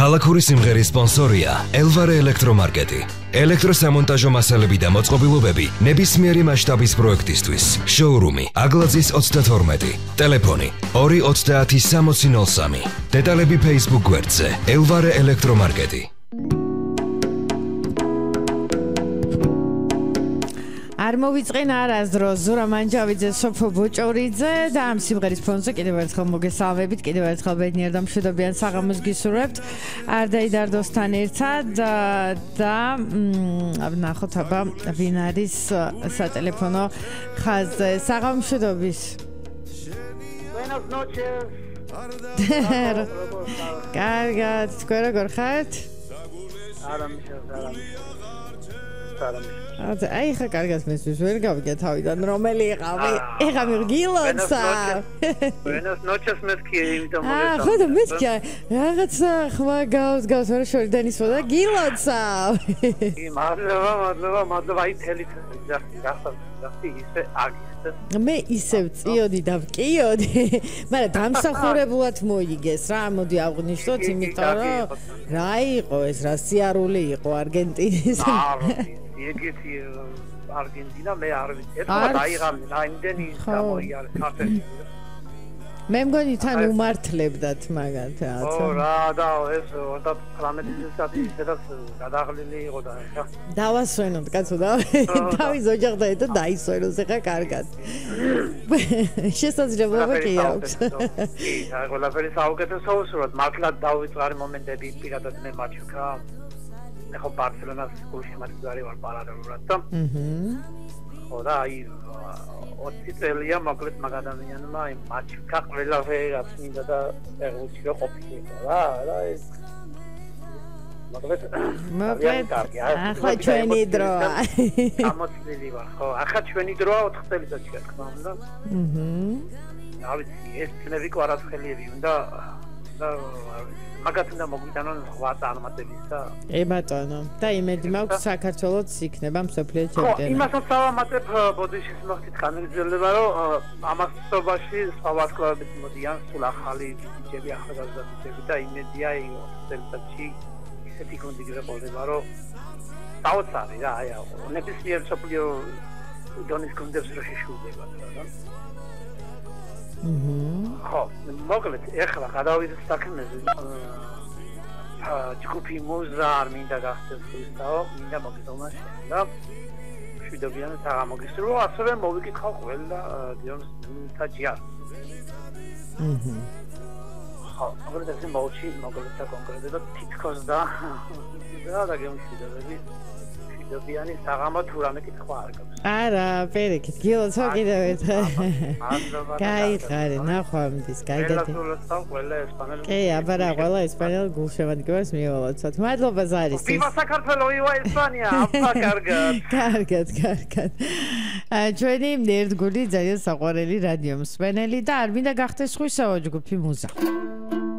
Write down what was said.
ქალაქური სიმღერის სპონსორია ელვარე ელექტრომარკეტი. ელექტროსამონტაჟო მასალები და მოწყობილობები ნებისმიერი მასშტაბის პროექტისთვის. შოურუმი აგლაძის 32. ტელეფონი 230 დეტალები Facebook გვერდზე ელვარე ელექტრომარკეტი. არ მოვიწყენ არასდროს ზურა მანჯავიძე, სოფო ბოჭორიძე და ამ სიმღერის ფონზე კიდევ ერთხელ მოგესალმებით, კიდევ ერთხელ ბედნიერ და მშვიდობიან საღამოს გისურვებთ. არდაიდარდოსთან ერთად და ნახოთ აბა ვინ არის სატელეფონო ხაზზე. საღამომშვიდობის. Buenas noches. კარგად, თქვენ როგორ ხართ? აი ხა კარგად მესმის ვერ გავიგე თავიდან რომელი იყავი? ეხა მიგილოცა. Buenas noches მეთქი იმიტომ მოგესალმებით. ხო და მეთქი რაღაცა ხმა გავს ვერ შორიდან ისვა და გილოცა. მადლობა აი თელით გახსოვდი ისე აგისე. მე ისევ წიოდი და ვკიოდი. მაგრამ დამსახურებულად მოიგეს რა, მოდი აღვნიშნოთ, იმიტომ რომ რა იყო ეს, რა სიარული იყო არგენტინის. ეგეთი არგენტინა მე არ ვიცი. ერთხელ დაიღალე რა იმდენი გამოიარე ქართლში. მე მგონი თან უმართლებდათ მაგათაც. ო რა და ეს 19 წელი ისედაც გადაღლილი იყო და ეხა დავასვენოთ კაცო და თავის ოჯახთან ერთად დაისვენოს ეხა კარგად. შესაძლებლობა კი აქვს. კი, ყველაფერი საუკეთესო უსურვოთ. მართლა დავიწყარი მომენტები პირადად მე მაჩვქა. ეხა ბარსელონას გულში მათგარი ვარ პარალელურად და ხო და აი 20 წელია მოკლედ მაგ ადამიანმა აი მაჩვქა ყველაფერი რაც მინდა და ეგრუჩი რო ყოფილიყო რა ეს მოკლედ ახლა ჩვენი დროა ამოცლილი ვარ ხო ახლა ჩვენი დროა 4 წელიწადში რა თქმა უნდა რა ვიცი ეს წნევი კვარაცხელიები უნდა და მაგათ უნდა მოგვიტანონ სხვა წარმატებისა და ბატონო და იმედი მაქვს საქართველოს იქნება მსოფლიო ჩემპიონი. ხო, იმასაც დავამატებ ბოდიშის მოხდით ხანგრძლივება რომ ამასობაში სხვა ვარსკვლავებიც მოდიან სულ ახალი ბიჭები ახალგაზრდა ბიჭები და იმედია წელიწადში ისეთი გუნდი გიყოლება რომ დაუცარი რა აი ნებისმიერ მსოფლიო დონის გუნდებს რო შეშურდება რა ხო, მოკლედ ეხლა გადავიდეთ საქმეზე. ჯგუფი მუზა არ მინდა გახდეს ისაო, მინდა მოგიტოვნა შენ და მშვიდობიანი საღამოგისურვო, ასევე მოვიკითხავ ყველა დიონს თაჯიას. ხო, მოკლედ ეს მოვჩი, მოკლედ და კონკრეტულად თითქოს და გემშვიდობები. მშვიდობიანი საღამო თუ რამე კითხვა არ გაქვს. არა, პერიქით, გილოცვა კიდევ ერთხელ. გაიხარე, ნახვამდის, გაიგეთ. კი, აბა რა, ყველა ესპანელ გულშემატკივარს მიველოცოთ. მადლობა ზარისთვის. ვივა საქართველო, ვივა ესპანია, აბა კარგად. კარგად. ჩვენი ერთგული ძალიან საყვარელი რადიო მსმენელი და არ მინდა გახდეს ხვისაო ჯგუფი მუზა.